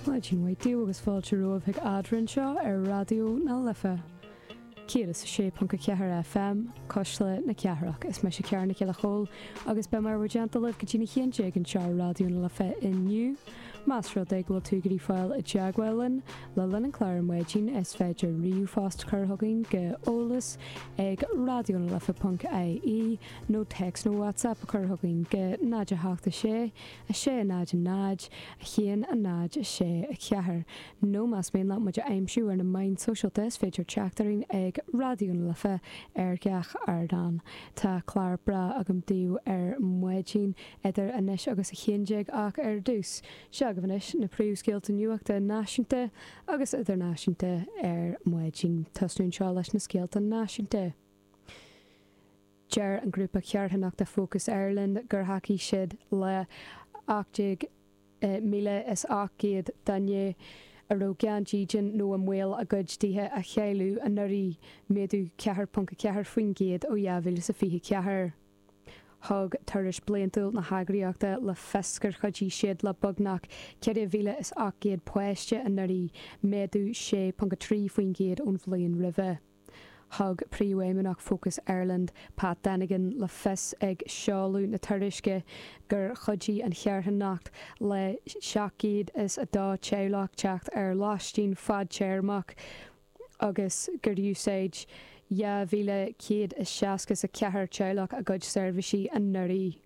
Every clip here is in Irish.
Maidin mhaith daoibh agus fáilte romhaibh chuig Eadrainn anseo ar Raidió na Life 106.4 FM, Cuisle na Cathrach. Is mise Ciara Nic Giolla Chóill agus beidh mé i bhur dteannta libh go dtí'n 11 anseo ar Raidió na Life inniu. Más rud é go bhfuil tú ag iarraidh fáil i dteagmháil linn le linn an chláir ar maidin is féidir ríomhphost a chur chugainn go eolas ag raidionalife.ie nó téacs nó WhatsApp a chur chugainn go 0 8 6 6 0 0 1 0 6 4 Nó más mian leat muid a aimsiú ar na meáin sóisialta is féidir teacht orainn ag Raidió na Life ar gach ardán. Tá clár breá agam daoibh ar maidin idir anois agus 11 ach ar dtús, seo agaibh anois na príomhscéalta nuachta náisiúnta agus idirnáisiúnta ar maidin. Tosnú anseo leis na scéalta náisiúnta. Deir an grúpa carthanachta Focus Ireland gur thacaigh siad le 18,800 duine a raibh gan dídean nó i mbaol a gcuid tithe a chailleadh anuraidh, méadú 4.4% ó 2024. Thug tuairisc bliantúil na heagraíochta le fios gur chuidigh siad le beagnach 4,800 páiste anuraidh, méadú 6.3% ón bhliain roimhe. Thug Príomhfheidhmeannach Focus Ireland, Pat Dennigan, le fios ag seoladh na tuairisce gur chuidigh an charthanacht le 702 teaghlach teacht ar lóistín fadtéarmach agus gur úsáid 2,164 teaghlach a gcuid seirbhísí anuraidh.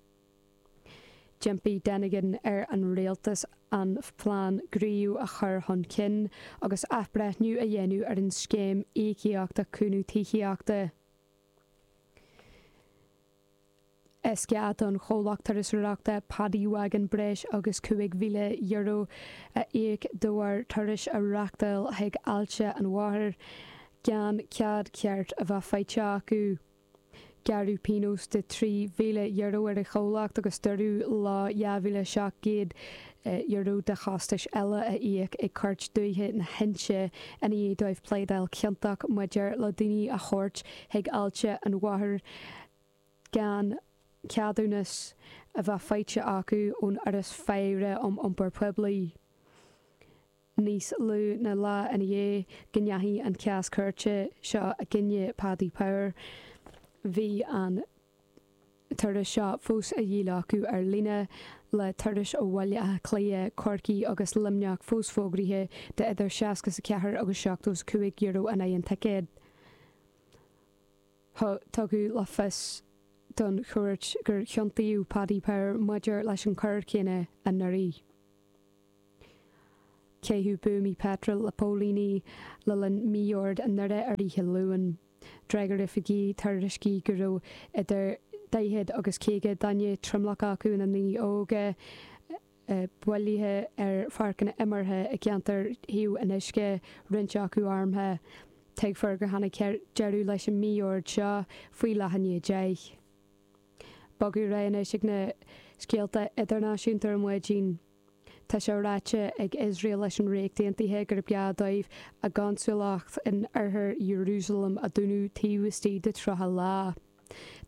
D'impigh Dennigan ar an rialtas an plean Grow a chur chun cinn agus athbhreithniú a dhéanamh ar an scéim íocaíochta cúnamh tithíochta. Is gá don chomhlacht turasóireachta Paddy Wagon breis agus €5,000 a íoc de bharr turais a reáchtáil chuig Aillte an Mhothair gan cead ceart a bheith faighte acu. Gearradh pionós de €3,000 ar an chomhlacht agus dúradh leo €2,700 de chostais eile a íoc ag Cúirt Dúiche na hInse i ndiaidh dóibh pléadáil ciontach maidir le daoine a thabhairt chuig Aillte an Mhothair gan ceadúnas a bheith faighte acu ón Fhoras Faire um Iompar Poiblí. Níos lú ná lá ina dhiaidh go ndeachaigh an cás cúirte seo i gcoinne Paddy Power, bhí an turas seo fós á dhíol acu ar líne, le turais ó Bhaile Átha Cliath, Corcaigh agus Luimneach fós fógraithe d'idir 64 agus €75 in aghaidh an ticéid. Tugadh le fios don chúirt gur ciontaíodh Paddy Power maidir leis an choir chéanna anuraidh. Caitheadh buamaí peitril le póilíní le linn mí-ord i nDoire ar oíche Luain. D'fhreagair oifigigh tuairiscí go raibh idir 40 agus 50 duine, tromlach acu ina ndaoine óga, bailithe ar pháirceanna imeartha i gceantar Thaobh an Uisce, roinnt acu armtha. Tuigfear gur tháinig deireadh leis an mí-ord seo faoi leath i ndiaidh 10. Bogadh ar aghaidh anois ag na scéalta idirnáisiúnta ar maidin. Tá sé ráite ag Iosrael leis an Ríocht Aontaithe gurb gá dóibh a gconsúlacht in oirthear Iarúsailéim a dúnadh taobh istigh de 30 lá.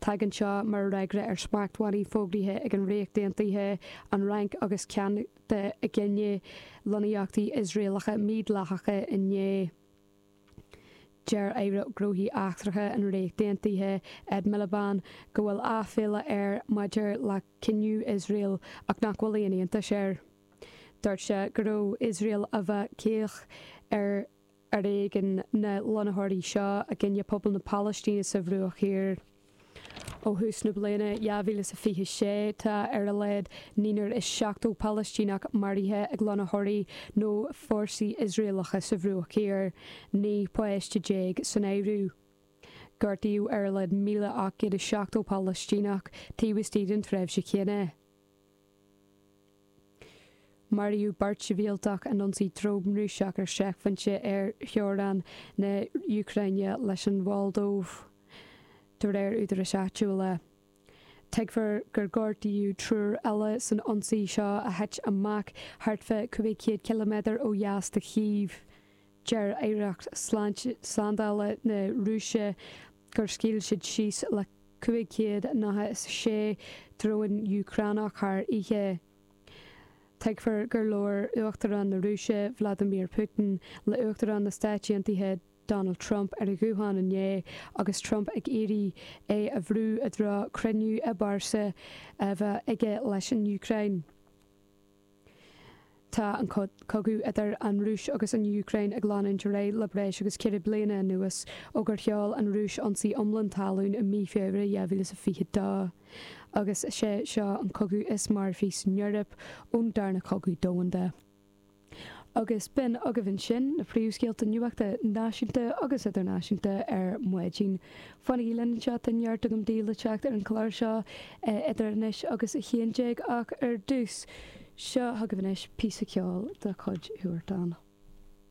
Tagann seo mar fhreagra ar smachtbhannaí fógraithe ag an Ríocht Aontaithe, an Fhrainc agus Ceanada i gcoinne lonnaíochtaí Iosraelacha mídhleathacha inné. Deir Aire Gnóthaí Eachtracha an Ríocht Aontaithe, Ed Miliband, go bhfuil aiféala air maidir le cinneadh Iosrael ach nach bhfuil aon iontas air. Dúirt sé go raibh Iosrael a bheith caoch ar fhoréigean na lonnaitheoirí seo i gcoinne pobal na Palaistíne sa Bhruach Thiar. Ó thús na bliana 2026, tá ar a laghad 79 Palaistíneach maraithe ag lonnaitheoirí nó fórsaí Iosraelacha sa Bhruach Thiar, 19 páiste san áireamh. Gortaíodh ar a laghad 1,870 Palaistíneach taobh istigh den tréimhse chéanna. Maraíodh beirt shibhialtach in ionsaí drón Rúiseach ar seicphointe ar theorainn na hÚcráine leis an Mholdóiv, de réir údaráis áitiúla. Tuigfear gur gortaíodh triúr eile san ionsaí seo a thit amach thart fá 500 ciliméadar ó dheas de Chív. Deir Aireacht Slándála na Rúise gur scaoil siad síos le 596 drón Úcránach thar oíche. Tuigfear gur labhair Uachtarán na Rúise, Vladimir Putin, le Uachtarán na Stáit Aontaithe, Donald Trump ar an ghuthán inné agus Trump ag iarraidh é a bhrú i dtreo cruinniú i bpearsa a bheith aige leis an Úcráin. Tá an cogadh idir an Rúis agus an Úcráin ag leanúint ar aghaidh le breis agus 4 bliana anuas ó gur sheol an Rúis ionsaí iomlán talún i mí Feabhra 2022. Agus is é seo an cogadh is marfaí san Eoraip ón Darna Cogadh Domhanda. Agus b'in agaibh ansin na príomhscéalta nuachta náisiúnta agus idirnáisiúnta ar maidin. Fanaigí linn anseo, tá neart agam daoibh le teacht ar an chlár seo idir anois agus 11 ach ar dtús, seo chugaibh anois píosa ceoil de chuid Huartan.